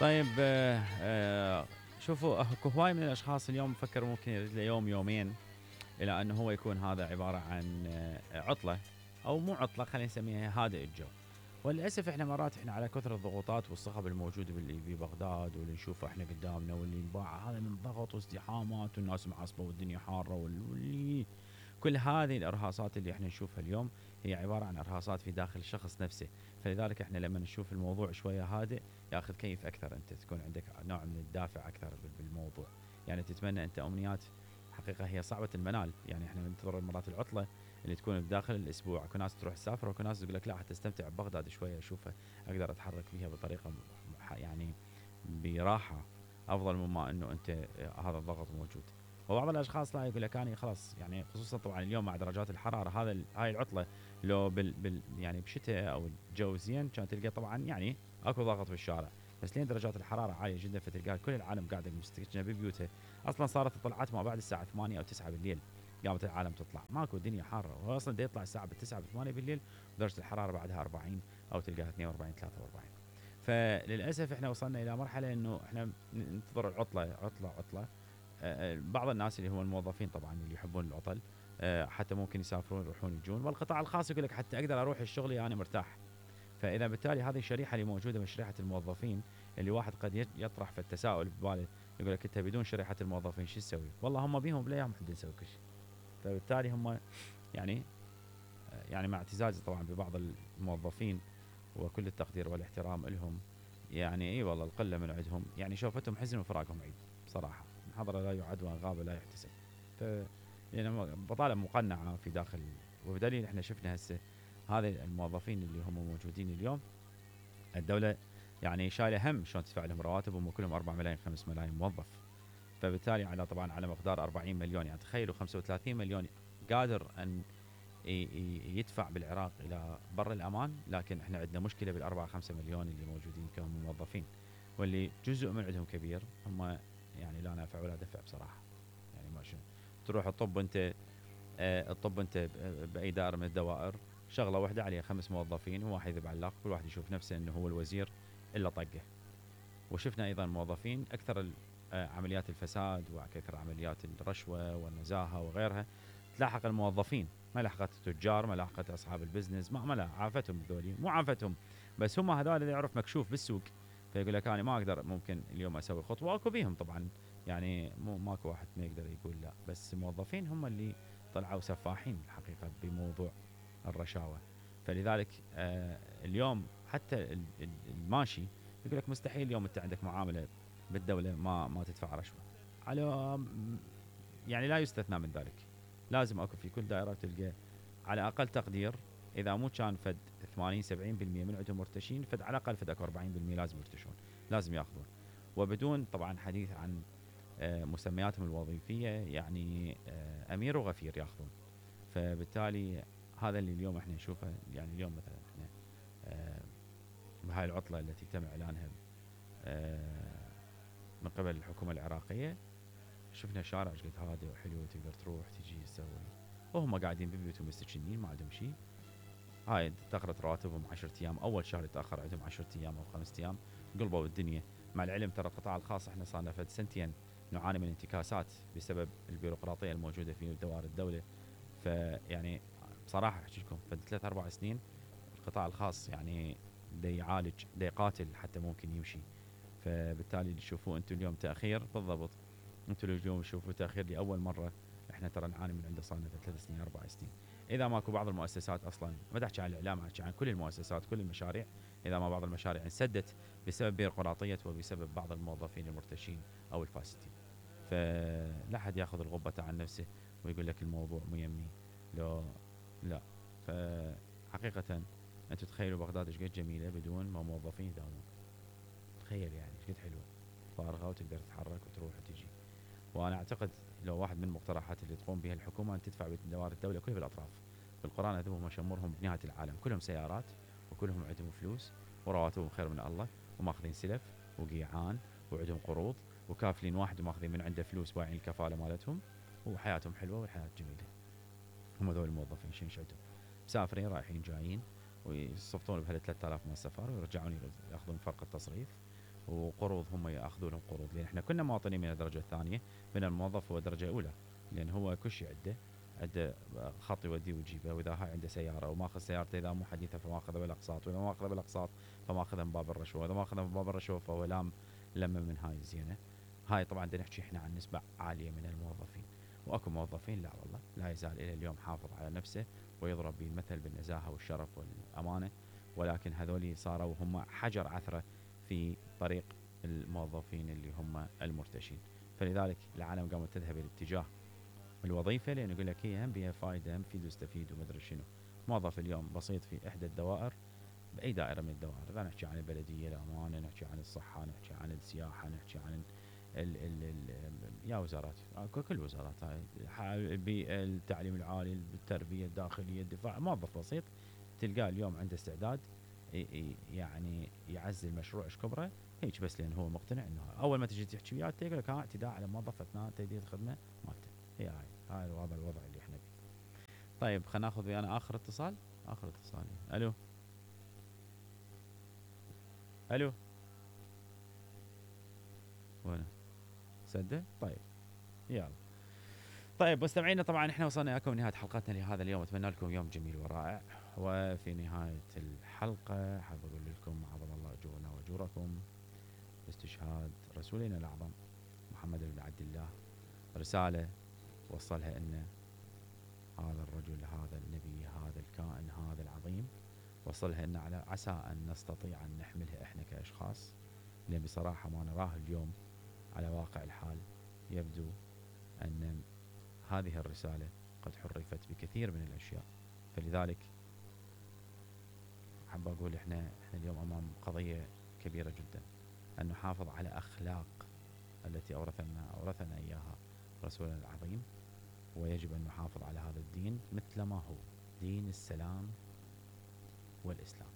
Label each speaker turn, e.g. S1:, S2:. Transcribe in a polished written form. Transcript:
S1: طيب شوفوا اكو هواي من الاشخاص اليوم فكر ممكن يريد له يوم يومين الى انه هو يكون هذا عباره عن عطله او مو عطله، خلينا نسميها هادئ الجو. وللاسف احنا مرات احنا على كثر الضغوطات والصخب الموجوده ببغداد واللي نشوفه احنا قدامنا واللي انباع هذا من ضغط وازدحامات والناس معصبه والدنيا حاره واللي كل هذه الارهاصات اللي احنا نشوفها اليوم هي عباره عن ارهاصات في داخل الشخص نفسه. فلذلك احنا لما نشوف الموضوع شويه هادئ ياخذ كيف اكثر، انت تكون عندك نوع من الدافع اكثر بالموضوع. يعني تتمنى انت امنيات حقيقه هي صعبه المنال. يعني احنا ننتظر مرات العطله اللي تكون بداخل الاسبوع، اكو ناس تروح تسافر واكو ناس تقول لك لا حتى استمتع ببغداد شويه اشوفها اقدر اتحرك فيها بطريقه يعني براحه افضل مما انه انت هذا الضغط موجود. وبعض الاشخاص لا يقول لك انا خلاص، يعني خصوصا طبعا اليوم مع درجات الحراره هاي العطله لو يعني بشتاء او الجو زين كان تلقى طبعا يعني اكو ضغط بالشارع. بس لين درجات الحراره عاليه جدا فتلقى كل العالم قاعده مستكشفه ببيوتها. اصلا صارت الطلعات ما بعد الساعه 8 او 9 بالليل قامت العالم تطلع، ماكو الدنيا حاره. هو اصلا دا يطلع الساعه 9 8 بالليل ودرجه الحراره بعدها 40 او تلقاها 42 43. فللاسف احنا وصلنا الى مرحله انه احنا ننتظر العطله عطله. بعض الناس اللي هم الموظفين طبعا اللي يحبون العطل حتى ممكن يسافرون يروحون يجون. والقطاع الخاص يقول لك حتى اقدر اروح الشغل انا مرتاح. فاذا بالتالي هذه الشريحه اللي موجوده من شريحه الموظفين اللي واحد قد يطرح في التساؤل بباله يقول لك انت بدون شريحه الموظفين شو تسوي؟ والله هم بيهم بلا يوم حد نسوي كل شيء. فبالتالي هم يعني يعني مع اعتزازي طبعا ببعض الموظفين وكل التقدير والاحترام لهم، يعني اي والله القله من عندهم يعني شوفتهم حزن وفراقهم عيد بصراحه. من حضر لا يعد وان غاب لا يحتسب. ف يعني بطاله مقنعه في داخل. وبدليل احنا شفنا هسه هذه الموظفين اللي هم موجودين اليوم الدوله يعني شايله هم شلون تدفع لهم رواتبهم وكلهم 4 ملايين 5 ملايين موظف. فبالتالي على طبعا على مقدار 40 مليون، يعني تخيلوا 35 مليون قادر ان يدفع بالعراق الى بر الامان. لكن احنا عندنا مشكله بالاربعه 5 مليون اللي موجودين كموظفين واللي جزء من عندهم كبير هم يعني لا نافع ولا دفع بصراحه. يعني ما شنو تروح الطب انت الطب انت باي دائره من الدوائر شغله واحده عليها 5 موظفين وواحد يذب علاق كل واحد يشوف نفسه انه هو الوزير الا طقه. وشفنا ايضا موظفين اكثر عمليات الفساد واكثر عمليات الرشوه والنزاهه وغيرها تلاحق الموظفين، ما لحقت التجار، ما لحقت اصحاب البزنس، ما لا عافتهم ذولي مو عافتهم. بس هم هذول اللي يعرف مكشوف بالسوق فيقول لك انا ما اقدر ممكن اليوم اسوي خطوه. اكو بيهم طبعا يعني مو ماكو واحد ما يقدر يقول لا، بس الموظفين هم اللي طلعوا سفاحين الحقيقه بموضوع الرشاوى. فلذلك اليوم حتى الماشي يقول لك مستحيل اليوم انت عندك معامله بالدوله ما تدفع رشوه. على يعني لا يستثنى من ذلك، لازم اكو في كل دائره تلقى على اقل تقدير اذا مو كان فد 80 70% من عندهم مرتشين فد على الاقل فد اكو 40% لازم يرتشون، لازم ياخذون. وبدون طبعا حديث عن مسمياتهم الوظيفيه يعني امير وغفير ياخذون. فبالتالي هذا اللي اليوم احنا نشوفه. يعني اليوم مثلا احنا بهاي العطله التي تم اعلانها من قبل الحكومه العراقيه شفنا شارع قد هادئ وحلو تقدر تروح تجي تسوي وهم قاعدين ببيوتهم مستكشنين ما عندهم شيء. هاي تاخرت رواتبهم 10 ايام، اول شهر يتاخر عندهم 10 ايام او 5 ايام قلبوا الدنيا. مع العلم ترى القطاع الخاص احنا صار لنا فد سنتين نعاني من انتكاسات بسبب البيروقراطيه الموجوده في دوائر الدوله. فيعني بصراحه احكي لكم فد 3 4 سنين القطاع الخاص يعني دا يعالج دا يقاتل حتى ممكن يمشي. فبالتالي اللي تشوفوه انتم اليوم تاخير بالضبط، انتم اليوم تشوفوا تاخير لاول مره احنا ترى نعاني من عنده صار لنا 3 سنين 4 سنين. اذا ماكو بعض المؤسسات اصلا ما احكي عن الاعلام احكي عن كل المؤسسات كل المشاريع، اذا ما بعض المشاريع انسدت بسبب بيروقراطيه وبسبب بعض الموظفين المرتشين او الفاسدين. فلا حد ياخذ الغبه عن نفسه ويقول لك الموضوع مو يمي لو لا. فحقيقه انتم تخيلوا بغداد ايش قد جميله بدون ما موظفين يداومون. تخيل يعني ايش قد حلوه فارغه وتقدر تتحرك وتروح وتجي. وانا اعتقد لو واحد من المقترحات اللي تقوم بها الحكومه ان تدفع بدوائر الدوله كلها بالاطراف. بالقران هذول شمرهم بنهايه العالم كلهم سيارات وكلهم عندهم فلوس ورواتبهم خير من الله وماخذين سلف وقيعان وعندهم قروض وكافلين واحد وماخذين من عنده فلوس بايعين الكفاله مالتهم وحياتهم حلوه والحياه جميله. هم ذول الموظفين شنو عندهم؟ مسافرين رايحين جايين ويصفطون بهال 3000 من السفر ويرجعون ياخذون فرق التصريف وقروض هم ياخذون قروض، لان احنا كنا مواطنين من الدرجه الثانيه، من الموظف هو درجه اولى، لان هو كل شيء عنده خط يوديه ويجيبه، واذا هاي عنده سياره وماخذ سيارته اذا مو حديثه فماخذها بالاقساط، واذا ما اخذها بالاقساط فماخذها من باب الرشوه، واذا ما اخذها من باب الرشوه فهو لم من هاي الزينه. هاي طبعا بدنا نحكي احنا عن نسبه عاليه من الموظفين، واكو موظفين لا والله لا يزال الى اليوم حافظ على نفسه ويضرب به المثل بالنزاهه والشرف والامانه، ولكن هذول صاروا هم حجر عثره في طريق الموظفين اللي هم المرتشين. فلذلك العالم قامت تذهب الى اتجاه الوظيفه، لان يقول لك هي هم بها فائده، هم فيد ويستفيد ومدري شنو. موظف اليوم بسيط في احدى الدوائر، باي دائره من الدوائر، اذا نحكي عن البلديه، الامانه، نحكي عن الصحه، نحكي عن السياحه، نحكي عن يا وزارات، كل وزارات هاي، البيئه، التعليم العالي، التربيه الداخليه، الدفاع، موظف بسيط تلقاه اليوم عنده استعداد يعني يعزل مشروع ايش كبره هيك، بس لان هو مقتنع انه اول ما تجي تحكي وياه يقول لك اعتداء على موظف اثناء تاديه الخدمه مالته. هي هاي هذا الوضع اللي احنا فيه. طيب خلينا ناخذ ويانا اخر اتصال. اخر اتصال. الو. الو. وين سده؟ طيب يلا. طيب مستمعينا، طبعا احنا وصلنا لكم نهايه حلقتنا لهذا اليوم، اتمنى لكم يوم جميل ورائع. وفي نهايه الحلقه حاب اقول لكم عظم الله اجورنا واجوركم باستشهاد رسولنا الاعظم محمد بن عبد الله، رساله وصلها لنا هذا الرجل، هذا النبي، هذا الكائن، هذا العظيم، وصلها لنا على عسى ان نستطيع ان نحملها احنا كاشخاص، لان بصراحه ما نراه اليوم على واقع الحال يبدو ان هذه الرسالة قد حرفت بكثير من الأشياء. فلذلك حاب أقول إحنا اليوم أمام قضية كبيرة جدا، أن نحافظ على أخلاق التي أورثنا إياها رسولنا العظيم، ويجب أن نحافظ على هذا الدين مثل ما هو دين السلام والإسلام.